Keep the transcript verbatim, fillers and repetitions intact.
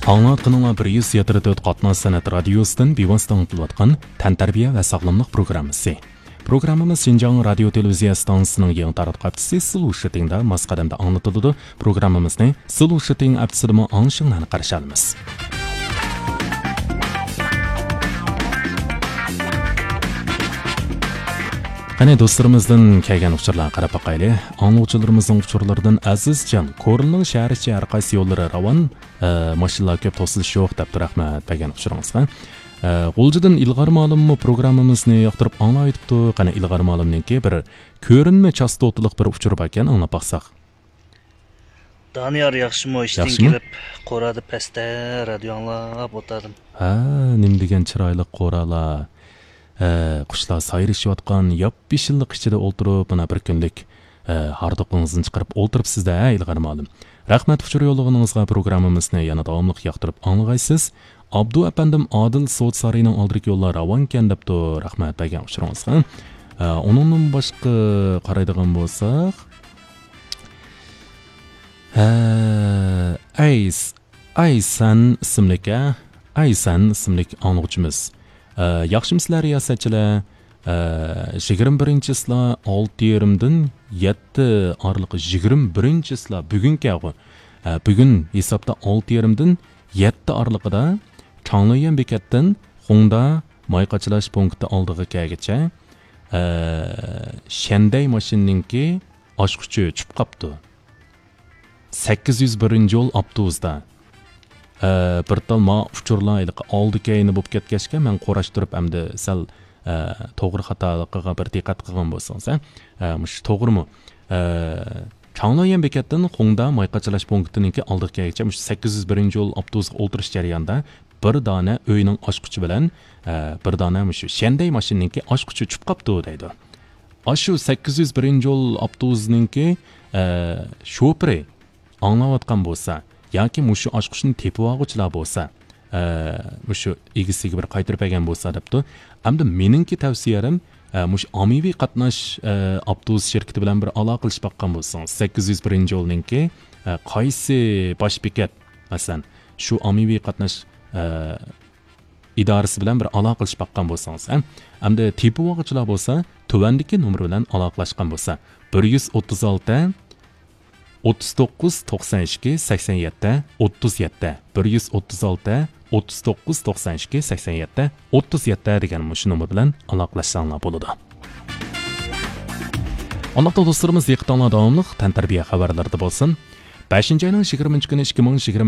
ئاڭلاۋاتقىنىڭلار بىر يۈز يەتتە تۆت قاتناش سەنئەت رادىيوسىدىن بىۋاسىتە ئاڭلىتىلىۋاتقان تەنتەربىيە ۋە ساغلاملىق پروگراممىسى. پروگراممىمىز شىنجاڭ رادىيو تېلېۋىزىيە ئىستانسىسىنىڭ يېڭى تاراتقۇ ھەپتىسى سلوشىتىڭدا ماس قەدەمدە ئاڭلىتىلىدۇ. پروگراممىمىزنى سلوشىتىڭ ھەپتىسىدىمۇ ئاڭلىشىڭلارنى قارشى ئالىمىز. قېنى، دوستلىرىمىزدىن كەلگەن ئۇچۇرلارغا قاراپ باقايلى. ئاڭلىغۇچىلىرىمىزنىڭ ئۇچۇرلىرىدىن ئەزىزجان، كورلىنىڭ شەھەر ئىچى ھەر قايسى يوللىرى راۋان، ئە، ماشىنىلار كۆپ، توسۇلۇش يوق دەپتۇ، رەھمەت بەرگەن ئۇچۇرىڭىزغا. ئە، غۇلجىدىن ئىلغار مالىممۇ پروگراممىمىزنى ياقتۇرۇپ ئاڭلاۋېتىپتۇ. قېنى، ئىلغار مالىمنىڭكى بىر كۆرۈنمە چاستوتىلىق بىر ئۇچۇر باركەن، ئاڭلاپ باقساق. دانىيار، ياخشىمۇ؟ ئىشتىن ياخشىمۇ؟ كېلىپ، قورادا پەستە رادىيو ئاڭلاپ ئولتۇردۇم. ھە، نېمە دېگەن چىرايلىق قورالار. ھە، قۇشلار سايرىشىۋاتقان ياپيېشىللىق ئىچىدە ئولتۇرۇپ، مانا بىر كۈنلۈك، ھە، ھاردۇقىڭىزنى چىقىرىپ ئولتۇرۇپسىز-دە، ھە، ئىلغار مالىم. رەھمەت ئۇچۇر يوللىغىنىڭىزغا، پروگراممىمىزنى يەنە داۋاملىق ياقتۇرۇپ ئاڭلىغايسىز. ئابدۇ ئەپەندىم، ئادىل سودا سارىيىنىڭ ئالدىدىكى يوللار راۋانكەن دەپتۇ، رەھمەت بەرگەن ئۇچۇرىڭىزغا. ھە، ئۇنىڭدىن باشقا قارايدىغان بولساق، ھە، ئەيس، ئەيسەن ئىسىملىك، ھە؟ ئەيسەن ئىسىملىك ئاڭلىغۇچىمىز. ھە، ياخشىمۇسىلەر رىياسەتچىلەر؟ ھە، يىگىرمە بىرىنچى چىسلا ئالتە يېرىمدىن يەتتە ئارىلىقى، يىگىرمە بىرىنچى چىسلا بۈگۈنكى ھەغۇ. ھە، بۈگۈن ھېسابتا ئالتە يېرىمدىن يەتتە ئارىلىقىدا چاڭليۈەن بېكەتتىن خۇڭدا ماي قاچىلاش پونكىتى ئالدىغا كەلگۈچە، ھە، شەندەي ماشىنىنىڭكى ئاچقۇچى چۈشۈپ قاپتۇ. سەككىز يۈز بىرىنچى يول ئاپتوبۇستا. ئە، بىر تال ما ئۇچۇرلار ھېلىقى ئالدى كەينى بولۇپ كەتكەچكە، مەن قوراشتۇرۇپ ئەمدى سەل، ئە، توغرا خاتالىقىغا بىر دىققەت قىلغان بولسىڭىز، ھە؟ ئە، مۇشۇ توغرىمۇ؟ ئە، چاڭليۈەن بېكەتتىن خۇڭدا ماي قاچىلاش پونكىتىنىڭكى ئالدىغا كەلگۈچە مۇشۇ سەككىز يۈز بىرىنچى يول ئاپتوبۇسىغا ئولتۇرۇش جەريانىدا بىر دانە ئۆينىڭ ئاچقۇچى بىلەن، ئە، بىر دانە مۇشۇ شەندەي ماشىنىنىڭكى ئاچقۇچى چۈشۈپ قاپتۇ دەيدۇ. ئاشۇ سەككىز يۈز بىرىنچى يول ئاپتوبۇسىنىڭكى، ئە، شوپۇرى ئاڭلاۋاتقان بولسا ياكى مۇشۇ ئاچقۇچنى تېپىۋالغۇچىلار بولسا، ئە، مۇشۇ ئىگىسىگە بىر قايتۇرۇپ بەرگەن بولسا دەپتۇ. ئەمدى مېنىڭكى تەۋسىيەم، ئە، مۇشۇ ئاممىۋى قاتناش، ئە، ئاپتوبۇس شىركىتى بىلەن بىر ئالاقىلىشىپ باققان بولسىڭىز، سەككىز يۈز بىرىنچى يولنىڭكى، ئە، قايسى باش بېكەت، مەسىلەن، شۇ ئاممىۋى قاتناش، ئە، ئىدارىسى بىلەن بىر ئالاقىلىشىپ باققان بولسىڭىز، ھە؟ ئەمدى تېپىۋالغۇچىلار بولسا، تۆۋەندىكى نومۇر بىلەن ئالاقىلاشقان بولسا، بىر يۈز ئوتتۇز ئالتە، ئوتتۇز توققۇز، توقسان ئىككى، سەكسەن يەتتە، ئوتتۇز يەتتە، بىر يۈز ئوتتۇز ئالتە، ئوتتۇز توققۇز، توقسان ئىككى، سەكسەن يەتتە، ئوتتۇز يەتتە دېگەن مۇشۇ نومۇر بىلەن ئالاقىلاشساڭلار بولىدۇ. ئانداقتا دوستلىرىمىز، دىققىتىڭلار داۋاملىق تەنتەربىيە خەۋەرلىرىدە بولسۇن. بەشىنچى ئاينىڭ يىگىرمىنچى كۈنى، ئىككى مىڭ يىگىرمە